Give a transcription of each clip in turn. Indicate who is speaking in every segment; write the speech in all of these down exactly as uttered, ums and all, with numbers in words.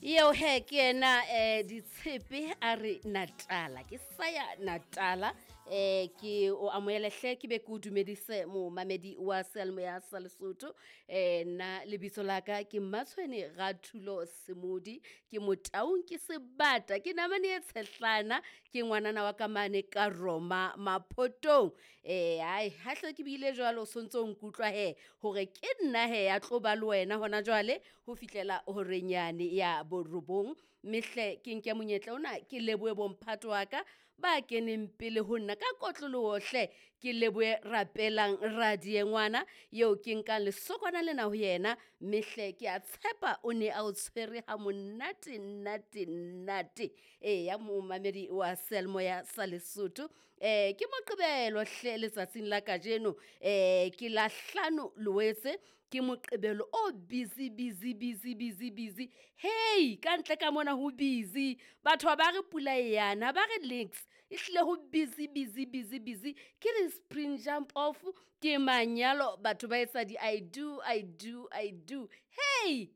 Speaker 1: Eo he ke yena um Ditshepe a re Natala, ke saya Natala. um Ke o amohele hle, ke be ke o dumedise momamedi wa seyalemoya sa Lesotho. um Nna lebitso la ka ke Mmatshwene Rathulo Semodi, ke Motaung, ke sebata, ke namane e tshehlana, ke ngwanana wa ka mane ka Roma Maphotong. um Ai ha hle ke bile jwalo, o sontso o nkutlwa he hore ke nna he ya tlo ba le wena hona jwale ho fihlela horenyane ya borobong. Mme hle ke nke monyetla ona ke lebohe bomphato wa ka ba keneng pele ho nna ka kotloloho hle. Ke lebohe Rapelang Radiengwana eo ke nkang lesokwana lena ho yena, mme hle ke a tshepa o ne a o tshwere ha monate nate nate. Eya momamedi wa seyalemoya sa Lesotho. um Ke Moqebelo hle letsatsing la kajeno, um ke la hlano Loetse, ke Moqebelo o busy busy busy busy busy. Hei ka ntle ka mona ho busy, batho ha ba re pula e yana, ha ba re niks, ehlile ho busy busy busy busy. Ke di-spring jump off, ke manyalo, batho ba etsa di-I do, I do, I do. Hei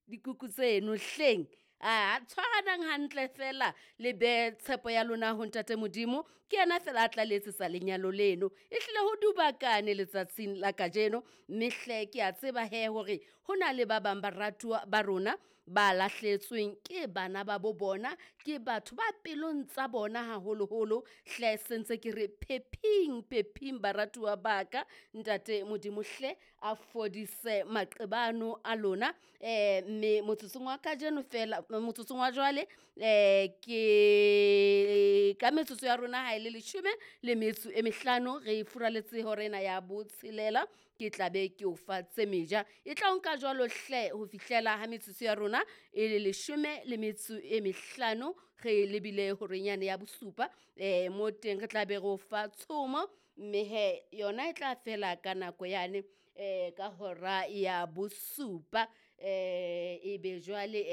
Speaker 1: dikuku tseno hleng. A tshwaranang hantle fela, le behe tshepo ya lona ho ntate Modimo, ke yena fela a tla le etsetsa lenyalo leno. Ehlile ho dubakane letsatsing la kajeno, mme hle ke a tseba he hore ho na le ba bang baratuwa ba rona ba lahlehetsweng ke bana ba bo bona, ke batho ba pelong tsa bona haholoholo. Hle sentse ke re phephing phephing baratuwa ba ka, ntate Modimo hle a fodise maqebano a lona. um Mme motsotsong wa kajeno fela, motsotsong wa jwale um ke ka metsotso ya rona ha e le leshome le metso e mehlano, re furaletse hora ena ya botshelela, ke tla be ke o fa tse meja. E tla o nka jwalo hle ho fihlela ha metsotso ya rona e le leshome le metso e mehlano, re lebile horenyane ya bosupa. um Mo teng re tla be re o fa tshomo, mme he yona e tla fela ka nako yane um ka hora ya bosupa. um Ebe jwale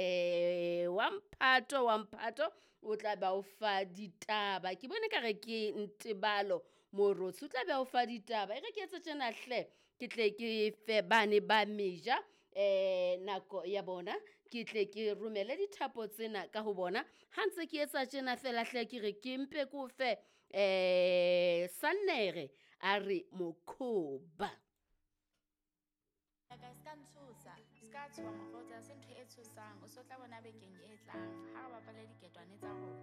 Speaker 1: um wa mphato wa mphato o tla ba o fa ditaba. Ke bone ka re ke Ntebalo Morotsi o tla be o fa ditaba. E re ke etse tjena hle, ke tle ke fe bane ba meja um nako ya bona, ke tle ke romele dithapo tsena ka ho bona. Ha ntse ke etsa tjena fela hle, ke re ke mpe ke o fe um Sannere a re mokhoba.
Speaker 2: Ka se ka ntshosa, se ka tshoha mokgotsi, ha se ntho e tshosang. O so tla bona bekeng e tlang ha re bapale diketwane tsa rona.